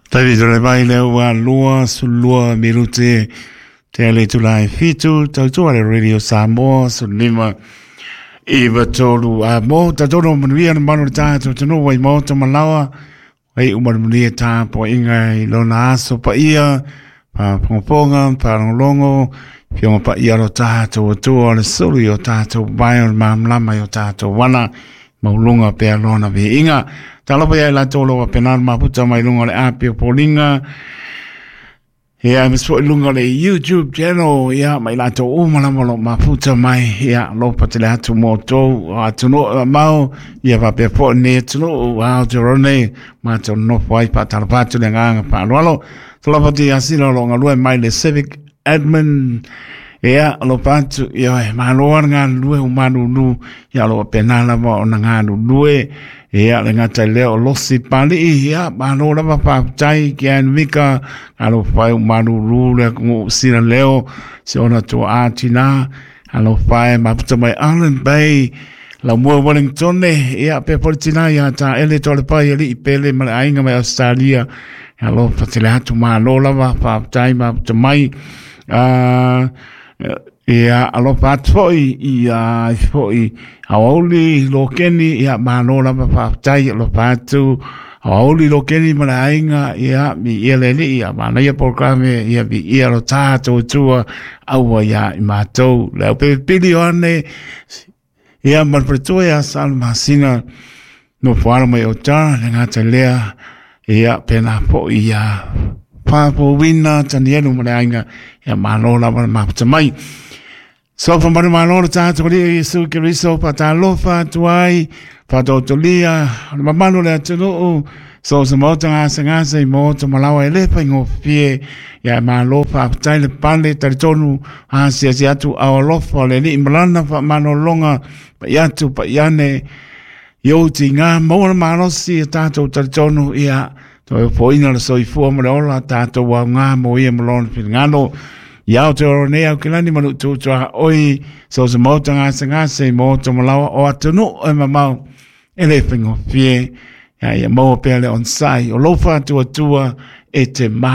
Tavi tole mai le ua 22 minute te ale tula e 7 tautua le Radio Samoa 15 93 a mo tatono manuia na manu le tātou tanu wai mo ta malawa ai umanuia tā po inga i lona aso pa ia pa pongaponga pa longo fionga pa ia lo tātou atua le sulu i o tātou vai o le mamlama i o tātou wana maulunga pea lona vi inga. Talofa ia i latou lo penal maputa mai lunga le api o Polinga. Ia, mas foi lunga le YouTube channel, ia, mai latou uma lava lo maputa mai, ia, lo patele atu mo tou, atu no mau, ia papea po ne atu no, Aotearoa nei, mātou nofo ai pa talofa atu le nganga pa aloalo. Talofa te asila lo ngalue mai le Civic Admin, ia, lo patu, ia, e malo ana ngā lue o manunu, ia, lo pena lava o na ngā lue, ia, le ngata leo o losi pali, ia, malo lava whāputai ki an mika, alo whai o manunu, le ngu sina leo, se ona tua ātina, alo whai maputa mai Island Bay, la mua Wellington, ia, pe politina, ia, tā ele tole pai, ali i pele, ma le ainga mai Australia, alo patele atu malo lava, whāputai maputa mai, ia alofa atu foi ia foi aouli lokeni ia malo lava faafetai alofa atu aouli lokeni ma le aiga ia mi ia le alii ia manaia polokalame ia viia lo tatou Atua aua ia i matou le aupepili o ane ia ma le faletua ia sa le masina nofo alo mai o ta le gata lea ia pena foi ia whāpōwina Tanielu ma le aiga ia malo lava le maputa mai. So fa manu malo le tātou alii Iesu Keriso whātalofa atu ai, whātautolia, le mamalu le atunuu, so se maota ngasa ngasa i maota malawa e le whaingofie, ia malo whaapatai le pale talitonu, a sia sia atu au alofa le alii malana whaamanolonga, pa i atu pa i ane, i ou ti ngā maua le malosi e tātou talitonu ia toe foina le soifua ma le ola tātou au ngā mo ia ma lona finagalo. I Aotearoa nei au kelani manu tūtua oi so se maota ngase ngase i maota malawa o atunuu e mamao e le whaingofie ia ia maua pea le onsai o lofa atu atua e te mā.